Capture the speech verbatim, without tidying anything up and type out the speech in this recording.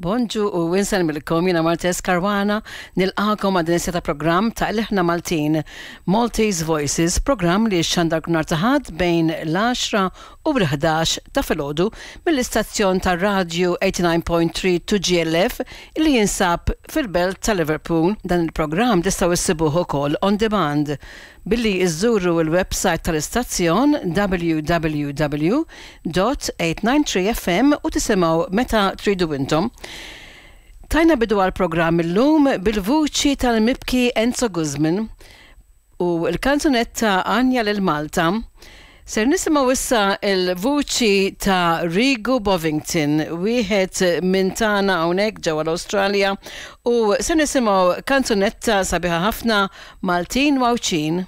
Bonġu u insellmilkom, jiena Martes Caruana, nilqagħkom għal din ta' programm ta' Ilħna Maltin, Maltese Voices, programm li xandar nhar ta' Ħadd bejn l-għaxra u l-ħdax ta' filgħodu mill-istazzjon ta' radio tmien u tmenin punt tlieta two G L F li jinsab fil-belt ta' Liverpool. Dan il-programm tistgħu issibuh ukoll on demand billi iżżuru il-website tal-istazzjon W W W punt tmien tnejn tlieta F M u tisimgħu meta tridu intom. Tajna bidu għal-programm illum bil-vuċi tal-mibki Enzo Guzman u l-kanzunetta Għanja lil Malta. Ser nisimgħu issa il-vuċi ta' Rigu Bovington, wieħed minn tagħna hawnhekk ġewwa l-Awstralja, u ser nisimgħu kanzunetta sabiħa ħafna, Maltin u Għawdxin.